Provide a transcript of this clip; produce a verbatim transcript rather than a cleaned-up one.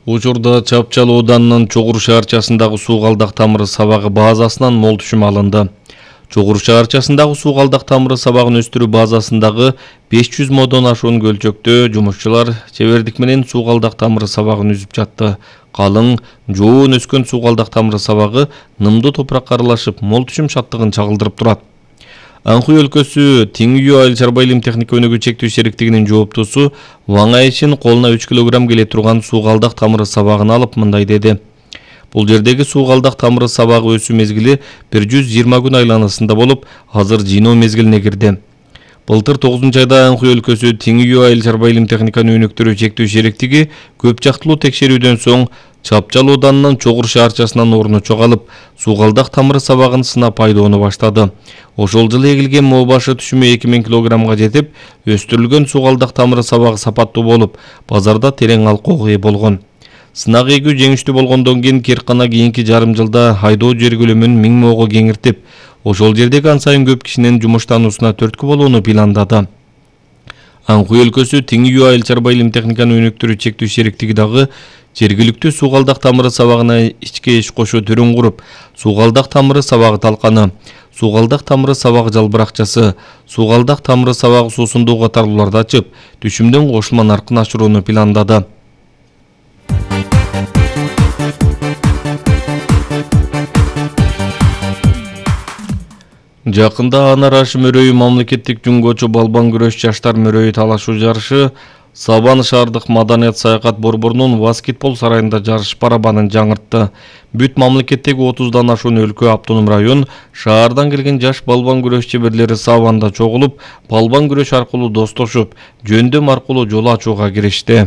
Учурда Чапчал ооданынын Чогур шаарчасындагы суу калдак тамыры сабагы базасынан мол түшүм алынды. Чогур шаарчасындагы суу калдак тамыры сабагын өстүрүү базасындагы беш жүз модон ашуун көлчөктө жумушчулар чебердик менен суу калдак тамыры сабагын үзүп жатты. Калың, жоон өскөн суу калдак тамыры сабагы нымдуу топуракка аралашып, мол түшүм шаттыгын чагылдырып турат. Анкуй өлкөсү Теңүү айыл чарба илим техника өнүгүү чектөө шериктигинин жооптусу Ваң Айшин колуна үч килограмм келе турган суу калдак тамыры сабагын алып мындай деди. Бул жердеги суу калдак тамыры сабагы өсүү мезгили бир жүз жыйырма күн айланасында болуп, азыр жыйноо мезгилине кирди. Былтыр тогузунчу айда Анкуй өлкөсү Теңүү айыл чарба илим техниканы өнүктүрүү чектөө шериктиги көп жактылуу текшерүүдөн соң Чапчал ооданынын Чогур шаарчасынан орну чогалып, суу калдак тамыры сабагын сынап айдоону баштады. Ошол жылы эгилген моо башы түшүмү эки миң килограммга жетип, өстүрүлгөн суу калдак тамыры сабагы сапаттуу болуп, базарда терең алкоого ээ болгон. Сынак эгүү жеңиштүү болгондон кийин Керкана кийинки жарым жылда айдоо жер көлөмүн миң моого кеңиртип, ошол жердеги ан сайын көп кишинин жумуштануусуна түрткү болууну пландады. Анкуй өлкөсү Теңүү айыл чарба илим техниканы өнүктүрүү чектөө шериктиги дагы жергиликтүү суу калдак тамыры сабагына ичке иш кошо түрүн куруп, суу калдак тамыры сабагы талканы, суу калдак тамыры сабагы жалбыракчасы, суу калдак тамыры сабагы суусундуу катарлууларды ачып, түшүмдүн кошулма наркын ашырууну пландады. Жакында Анар Ашим өрөйү мамлекеттик жунгочу балбан күрөш жаштар мөрөйү талашуу жарышы Сабан шаардык маданият саякат борборунун баскетбол сарайында жарыш барабанын жаңыртты. Бүт мамлекеттеги отуздан ашуун өлкө, автоном район, шаардан келген жаш балбан күрөш чеберлери Сабанда чогулуп, балбан күрөш аркылуу достошуп, жөндөм аркылуу жол ачууга киришти.